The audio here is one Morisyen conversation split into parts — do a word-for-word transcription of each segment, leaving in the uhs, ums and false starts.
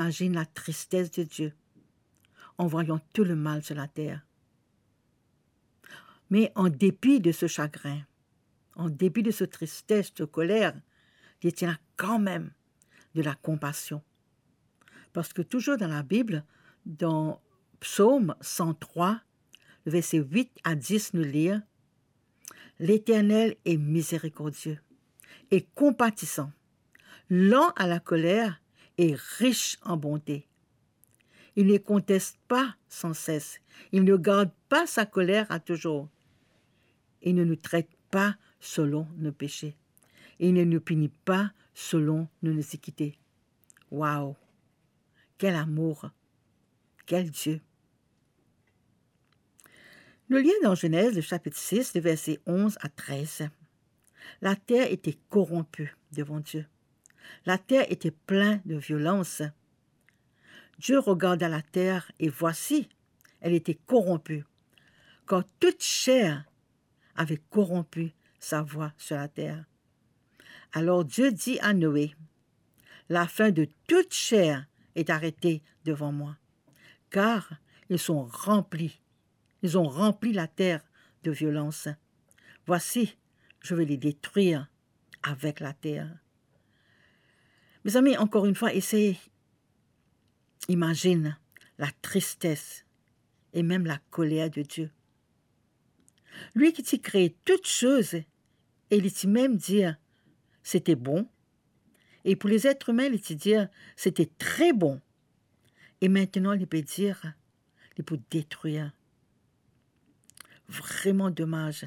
imazinn la tristes de Dieu an vwayan tou lemal sur la ter. Me an depi de so sagrin, an depi de so tristes, so koler, li ti ena kanmem de la konpasion. Parski touzour dan Labib, dan Psom san trwa, le verse wit a dis, nou lir, L'Éternel est miséricordieux et compatissant, lent à la colère et riche en bonté. Il ne conteste pas sans cesse, il ne garde pas sa colère à toujours. Il ne nous traite pas selon nos péchés. Il ne nous punit pas selon nos iniquités. Waouh! Quel amour! Quel Dieu! Nou lir dan Zenez, le chapitre six, le verset onze à treize. La terre était corrompue devant Dieu. La terre était pleine de violence. Dieu regarda la terre et voici, elle était corrompue, car toute chair avait corrompu sa voie sur la terre. Alors Dieu dit à Noé, La fin de toute chair est arrêtée devant moi, car ils sont remplis, ils ont rempli la terre de violence. Voici, je vais les détruire avec la terre. Mezami, ankor enn fwa, esey imazinn la tristes e mem la koler de Dieu. Li ki ti kree tou soz e li ti mem dir, "C'était bon." E pou les êtres humains, li ti dir, "C'était très bon." E aster li pe dir, li pou detrir. Vreman domaz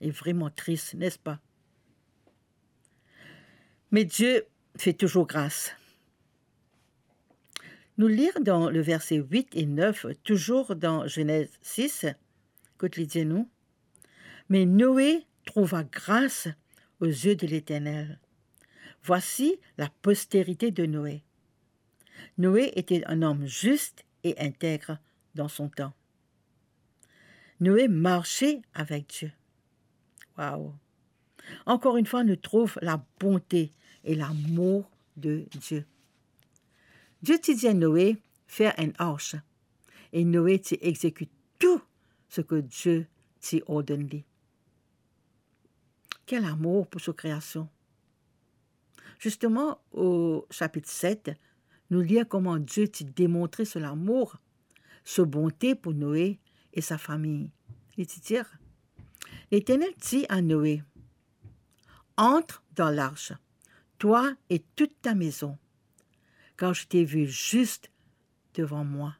e vreman tris, n'est-ce pas? Mais Dieu fait toujours grâce. Nou lir dan le verset huit et neuf, toujours dans Genèse six, kot li dir nou, Mais Noé trouva grâce aux yeux de l'Éternel. Voici la postérité de Noé. Noé était un homme juste et intègre dans son temps. Noé marchait avec Dieu. Waouh! Ankor enn fwa, nou trouv labonte e lamour de Dieu. Dieu ti dir Noé fer enn arch, e Noé ti exekit tou seki Dieu ti ordenn li. Kel amour pou so kreasion! Zisteman, o sapit set, nou lir kouma Dieu ti demontre so lamour, so bonte pou Noé e sa fami. Li ti dir, Leternel dit à Noé, Entre dans l'arche, toi et toute ta maison, car je t'ai vu juste devant moi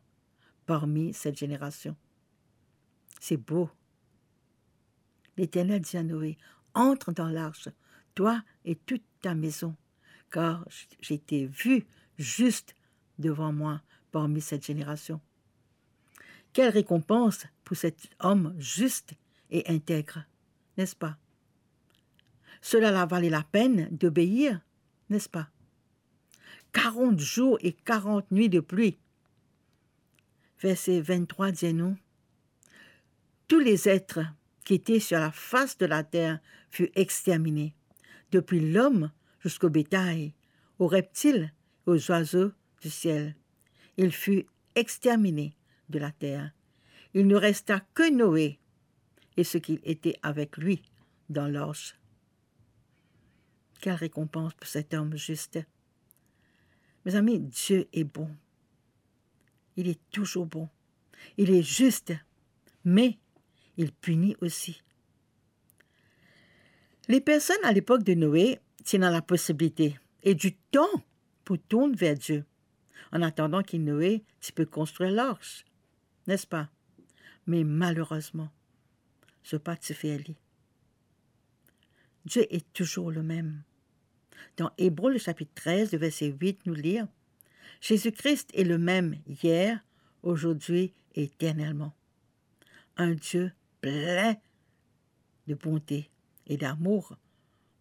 parmi cette génération. C'est beau. L'Éternel dit à Noé, Entre dans l'arche, toi et toute ta maison, car je t'ai vu juste devant moi parmi cette génération. Quelle récompense pour cet homme juste et intègre, n'est-ce pas? Cela la valait la peine d'obéir, n'est-ce pas? Quarante jours et quarante nuits de pluie. Verset vingt-trois dit à nous, Tous les êtres qui étaient sur la face de la terre furent exterminés, depuis l'homme jusqu'au bétail, aux reptiles et aux oiseaux du ciel. Ils furent exterminés de la terre. Il ne resta que Noé et ceux qui étaient avec lui dans l'arche. Quelle récompense pour cet homme juste. Mes amis, Dieu est bon. Il est toujours bon. Il est juste, mais il punit aussi. Les personnes à l'époque de Noé tenaient la possibilité et du temps pour tourner vers Dieu, en attendant que Noé ti pe konstrir larch, n'est-ce pas? Me malerezman, zot pa ti fer li. Dieu est toujours le même. Dans Hébreux, le chapitre treize, le verset huit, nous lire, Jésus-Christ est le même hier, aujourd'hui et éternellement. Un Dieu plein de bonté et d'amour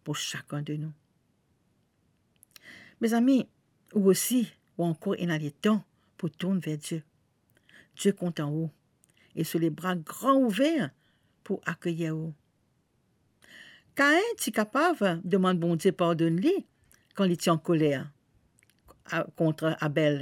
pour chacun de nous. Mes amis, ou osi, ou ankor ena letan pou tourn ver Dieu. Dieu kontan ou e so lebra gran ouver pou akeyir ou. Kain ti kapav demann Bondie pardonn li kan li ti ankoler. a-, contre Abel.